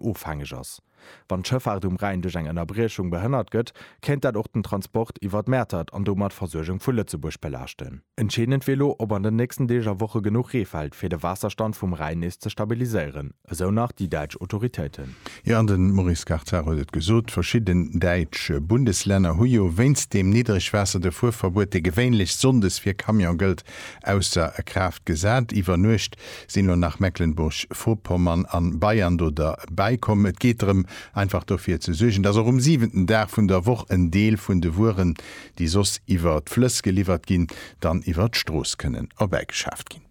ofhängeg ass. Wann d'Schëffaart um Rhäin duerch eng Ënnerbriechung behënnert gëtt, kéint dat och den Transport iwwert Mäertert an domat d'Versuergung vu Lëtzebuerg belaaschten. Entscheedend wier elo, ob an den nächsten Deeg a Woche genuch Ree fält, fir de Waasserstand vum Rhäin nees ze stabiliséieren, esou nach déi däitsch Autoritéiten. Jo, an de Maurice Karthar huet et gesot, verschidden däitsch Bundeslänner hu jo wéinst deem Niddregwaasser de Fuerverbuet, dee gewéinlech sonndes fir Camion gëllt, ausser Kraaft gesat. Iwwer Nuecht sinn elo nach Mecklenburg-Vorpommern an Bayern do derbäi komm. Et geet drëm, einfach dofir ze suergen, dass och um siwenten Dag vun der Woch en Deel vun de Wueren, déi soss iwwer d'Flëss geliwwert ginn, dann iwwer d'Strooss kënnen erbäigeschaaft ginn.